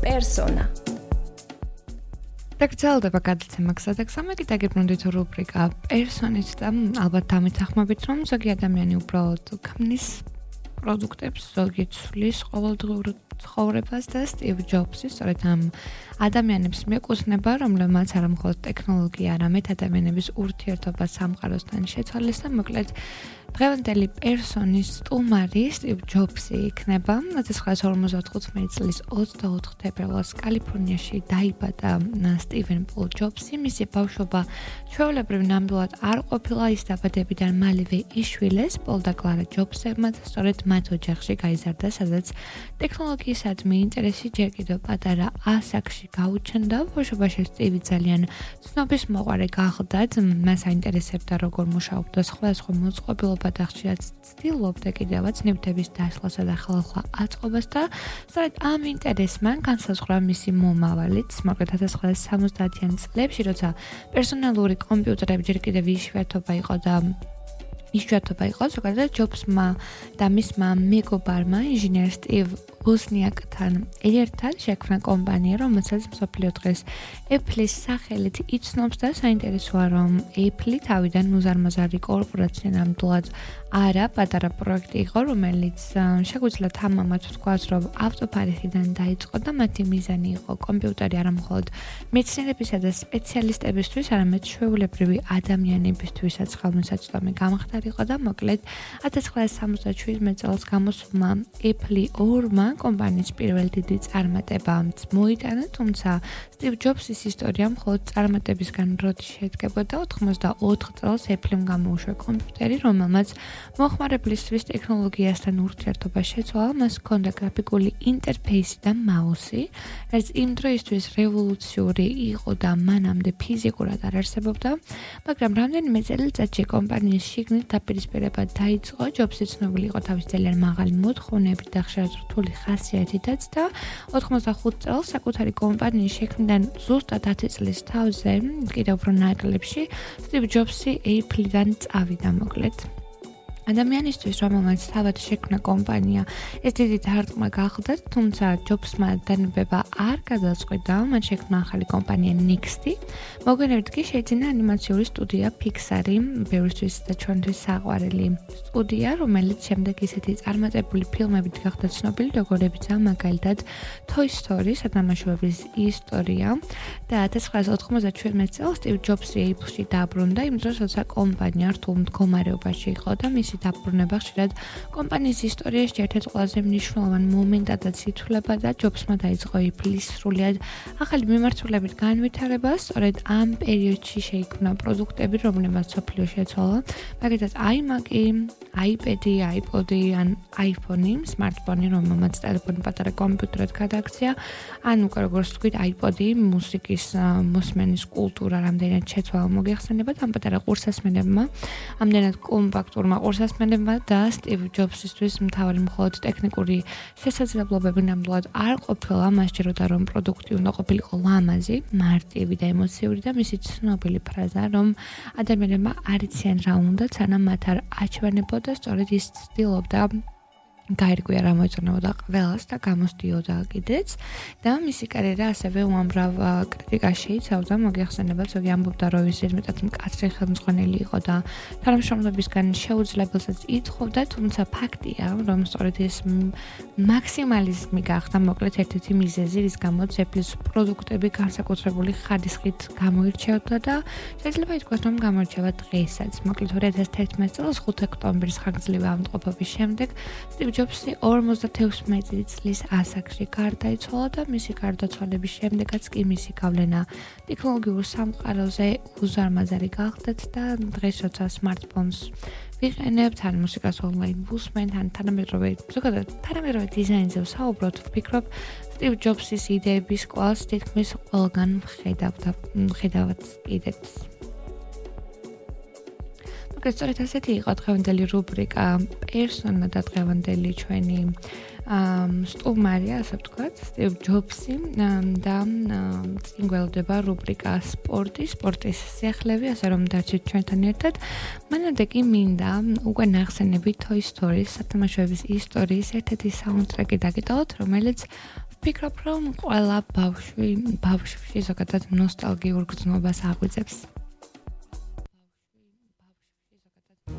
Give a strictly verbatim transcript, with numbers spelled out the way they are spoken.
პერსონა. დაგრძელდება გადაცემა გზადაგზავნე, დაგიბრუნდით რუბრიკა პერსონით და ალბათ დამეთანხმებით, რომ ზოგი ადამიანი უბრალოდ ქმნის პროდუქტებს, ზოგი ცვლის ყოველდღიურ ცხოვრებას და სტივ ჯობსი სწორედ ამ ადამიანებს მიეკუთვნება, რომლებმაც არა მხოლოდ ტექნოლოგია, არამედ ადამიანების ურთიერთობა სამყაროსთან შეცვალეს და მოკლედ დღევანდელი პერსონის სტუმარი სტივ ჯობსი იქნება. ათას ცხრაასი ორმოცდაოთხ წლის ოცდაოთხ თებერვალს კალიფორნიაში დაიბადა სტივენ პოლ ჯობსი. მისი ბავშვობა ჩვეულებრივ ნამდვილად არ ყოფილა, ის დაბადებიდან მალევე იშვილეს პოლ და კლარა ჯობსებმა და სწორედ მათ ოჯახში გაიზარდა, სადაც ტექნოლოგიისადმი ინტერესი ჯერ კიდევ პატარა ასაკში გაუჩნდა. ბავშვობაში სტივი ძალიან ცნობისმოყვარე გახდათ, მას აინტერესებდა როგორ მუშაობდა სხვადასხვა მოწყობილობა და ხშირად ცდილობდა კიდევაც ნივთების დაშლასა და ხალხლა აწყობას და სწორედ ამ ინტერესმა განსაზღვრა მისი მომავალიც. მოკლედ ათას ცხრაასი სამოცდაათიან წლებში, როცა პერსონალური კომპიუტერები ჯერ კიდევ იშვიათობა იყო და იშვიათობა იყო, ზოგადად ჯობსმა და მისმა მეგობარმა ინჟინერ სტივ ვოზნიაკთან ერთად შექმნა კომპანია, რომელსაც მსოფლიო დღეს Apple-ის სახელით იცნობს და საინტერესოა, რომ Apple თავიდან უზარმაზარი კორპორაცია ნამდვილად არა, პატარა პროექტი იყო, რომელიც შეგვიძლია თამამად ვთქვათ, რომ ავტოფარეხიდან დაიწყო და მათი მიზანი იყო კომპიუტერი არა მხოლოდ მეცნიერებისა და სპეციალისტებისთვის, არამედ ჩვეულებრივი ადამიანებისთვისაც ხელმისაწვდომი გამხდარიყო და მოკლედ ათას ცხრაასი სამოცდაშვიდმეტ წელს გამოსულმა Apple ორმა კომპანიის პირველი დიდი წარმატებაც მოიტანა, თუმცა სტივ ჯობსის ისტორია მხოლოდ წარმატებისგან როდი შედგებოდა. ოთხმოცდაოთხ წელს Apple-მ გამოუშვა კომპიუტერი, რომელმაც მოხმარებლისთვის ტექნოლოგიასთან ურთიერთობა შეცვალა, მას ჰქონდა გრაფიკული ინტერფეისი და მაუსი, რაც იმ დროისთვის რევოლუციური იყო და მანამდე ფიზიკურად არ არსებობდა, მაგრამ რამდენიმე წელიწადში კომპანიის შიგნით დაპირისპირება დაიწყო. ჯობსი ცნობილი იყო თავის ძალიან მაღალი მოთხოვნებით და ხშირად რთული ხასიათითაც და ოთხმოცდახუთ წელს საკუთარი კომპანიის შექმნიდან ზუსტად ათი წლის თავზე, კიდევ უფრო ნაკლებში, სტივ ჯობსი Apple-დან წავიდა მოკლედ. ადამიანისთვის, რომელმაც თავად შექმნა კომპანია, ეს დიდი დარტყმა გახდა, თუმცა ჯობსმა დანებება არ გადაწყვიტა, მან შექმნა ახალი კომპანია Next-ი. მოგვიანებით კი შეიძინა ანიმაციური სტუდია Pixar-ი, ბევრისთვის და ჩვენთვის საყვარელი სტუდია, რომელიც შემდეგ ისეთი წარმატებული ფილმებით გახდა ცნობილი, როგორებიცაა მაგალითად Toy Story, სათამაშოების ისტორია და ათას ცხრაასი ოთხმოცდაშვიდმეტ წელს სტივ ჯობსი Apple-ში დაბრუნდა, იმ დროს, როცა კომპანია რთულ მდგომარეობაში იყო და მისი დაბრუნება ხშირად კომპანიის ისტორიაში ერთ-ერთ ყველაზე მნიშვნელოვან მომენტადაც ითვლება და ჯობსმა დაიწყო Apple-ის სრულიად ახალი მიმართულებით განვითარება. სწორედ ამ პერიოდში შეიქმნა პროდუქტები, რომლებმაც მსოფლიოში შეცვალა, მაგალითად iMac-ი, iPad-ი, iPod-ი ან iPhone-ი, smartphone-ი, რომელმაც ტელეფონი პატარა კომპიუტერად გადააქცია, ან უკვე როგორც ვთქვით, iPod-ი, მუსიკის მოსმენის კულტურა რამდენად შეცვალა მოგეხსენებათ ამ პატარა ყურსასმენებმა, ამდენად კომპაქტურმა ყურსასმენებმა და სტივ ჯობსისთვის მთავარი მხოლოდ ტექნიკური შესაძლებლობები ნამდვილად არ ყოფილა, მას სჯეროდა, რომ პროდუქტი უნდა ყოფილიყო ლამაზი, მარტივი და ემოციური და მისი ცნობილი ფრაზა, რომ ადამიანებმა არ იციან რა უნდათ, სანამ მათ არ აჩვენებოდა, სწორედ ის ცდილობდა გაირკვია რა მოეწონებოდა ყველას და გამოსდიოდა კიდეც და მისი კარიერა ასევე უამრავ კრიტიკას შეიცავდა. მოგეხსენებათ, ზოგი ამბობდა, რომ ის ზედმეტად მკაცრი ხელმძღვანელი იყო და თანამშრომლებისგან შეუძლებელსაც ითხოვდა, თუმცა ფაქტია, რომ სწორედ ეს მაქსიმალიზმი გახდა მოკლედ ერთ-ერთი მიზეზი, რის გამოც Apple-ის პროდუქტები განსაკუთრებული ხარისხით გამოირჩეოდა და შეიძლება ითქვას, რომ გამოირჩევა დღესაც. მოკლედ ორი ათას თერთმეტ წელს ხუთი ოქტომბრის ხანგრძლივი ავადმყოფობის შემდეგ სტივ ჯობსი ორმოცდათექვსმეტი წლის ასაკში გარდაიცვალა და მისი გარდაცვალების შემდეგაც კი მისი გავლენა ტექნოლოგიურ სამყაროზე უზარმაზარი გახდათ და დღეს როცა smartphones ვიყენებთ, ან მუსიკას ონლაინ ვუსმენთ, ან თანამედროვე ზოგადად თანამედროვე დიზაინზე ვსაუბრობთ, ვფიქრობ სტივ ჯობსის იდეების კვალს თითქმის ყველგან ვხედავთ ვხედავთ კიდეც. სწორედ ასეთი იყო დღევანდელი რუბრიკა პერსონა და დღევანდელი ჩვენი სტუმარი, ასე ვთქვათ, სტივ ჯობსი და წინ გველოდება რუბრიკა სპორტი, სპორტის სიახლეები, ასე რომ დარჩით ჩვენთან ერთად. მანამდე კი მინდა უკვე ნახსენები Toy Story-ის სათამაშოების ისტორიის ერთ-ერთი საუნდტრეკი დაგიტოვოთ, რომელიც ვფიქრობ, რომ ყველა ბავშვი ბავშვში ზოგადად ნოსტალგიურ გრძნობას აღვიძებს.